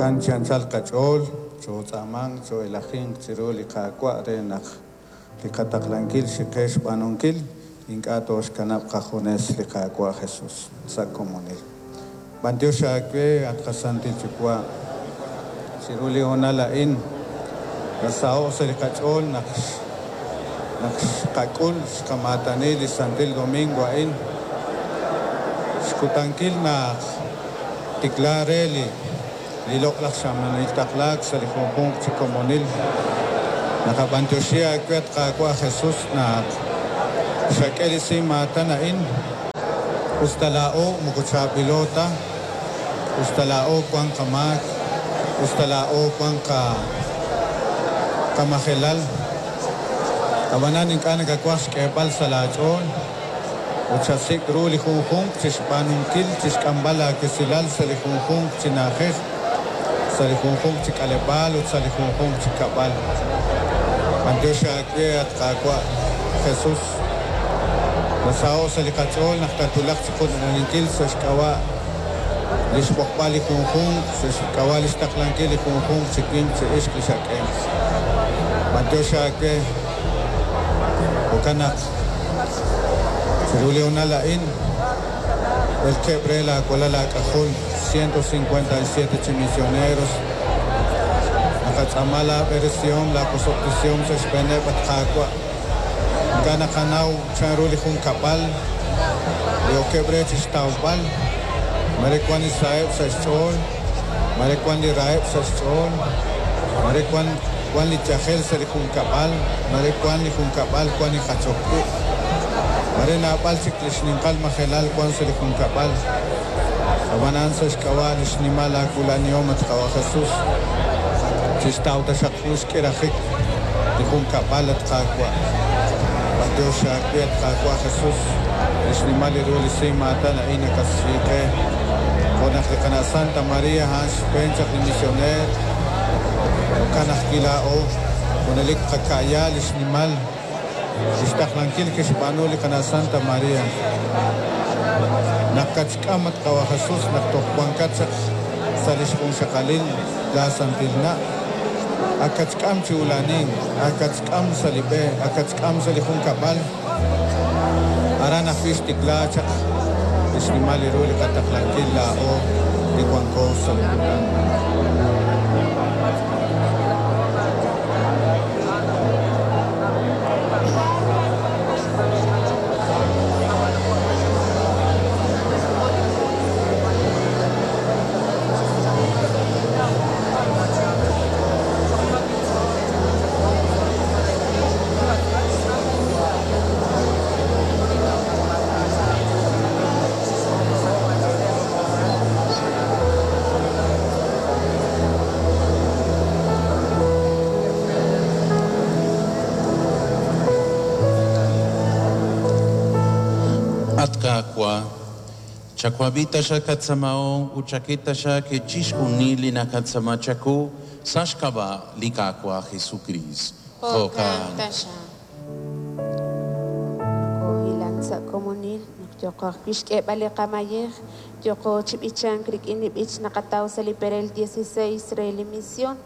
Jo'kan chi anchal qach'ool, chootz'aamanq, choo'elajinq chiru li Qaawa' re naq li qataqlankil xiqe xb'aanunkil ink'a' tooxkanab' qajunes li Qaawa' Jesus sa' komonil. B'antiox aawe, at qaSantil Yuwa', chiru li hoonal a'in nasaho' sa' li qach'ool naq naq xqak'ul xqamaatani li Santil Domingo a'in, xkutankil naq tikla re li li loq'laj xamanil taqlaak sa' li junjunq chi komonil. Naqab'antioxi aawe, at Qaawa' Jesus, naq xak'e li simaatan a'in, us ta laa'o moko chaab'ilo ta, us ta laa'o wan qamaak, us ta laa'o wan qamajelal. Ab'anan ink'a' nakawaj xk'eeb'al sa' laach'ool ut xasik' ru li junjunq chi xb'aanunkil, chi xk'amb'al aawesilal sa' li junjunq chi na'ajej, sa' li junjunq chi k'aleb'aal ut sa' li junjunq chi kab'al. B'antiox aawe, at Qaawa' Jesus. Nasaho' sa' li qach'ool naq tatwulaq chi qula'aninkil sa' xk'ab'a' li xb'oqb'al li junjunq, sa' xk'ab'a' li xtaqlankil li junjunq chi winq chi ixq li xak'e. B'antiox aawe. Jo'kan naq chiru li hoonal a'in, elkeb' re laawalal aak'ajol 157 chi misioneros. Naqatz'aama laab'eresihom, laawosob'tesihom sa' xb'eeneb', at Qaawa'. Ink'a' naqanaw chanru li junkab'al li okeb' re chi xtawb'al, mare wan li saheb' sa' xch'ool, mare wan li raheb' sa' xch'ool, mare wan wan li yajel sa' li junkab'al, mare wan li junkab'al wan li jachok ib', mare naab'al chik li xninqal majelal wan sa' li junkab'al. Ab'anan sa' xk'ab'a' li xnimal aawula'nihom, at Qaawa' Jesus, chixtaw taxaq jun xk'irajik li junkab'al, at Qaawa'. B'antiox aawe, at Qaawa' Jesus, li xnimal li ru li simaatan a'in nakassi qe. Jo' naq li qana' Santa Maria a'an xb'een chaq li misioneer, jo'kan ajwi' laa'o junelik qaka'ya li xnimal li xtaqlankil kixb'aanu li qana' Santa Maria. Naq katxk'am, at Qaawa' Jesus, naq toj wankat chaq sa' li xjunxaqalil laa santil na', ak katxk'am chi ula'anink, ak katxk'am sa' li b'e, ak katxk'am sa' li junkab'al. Aran ajwi' xtikla chaq li xnimal li ru li qataqlankil laa'o li wanko sa' li kutan. At Qaawa', chawab'i taxaq qatz'aamahom ut chak'e taxaq chixjunil li naqatz'aama chawu sa' xk'ab'a' li Qaawa' Jesukriist. Jo'kan taxaq. Nokoohilank sa' komonil naq yooqo ajwi' xk'eeb'al li qamayej, yooqo chi b'ichank rik'in li b'ich naqataw sa' li perel 16 re li mision.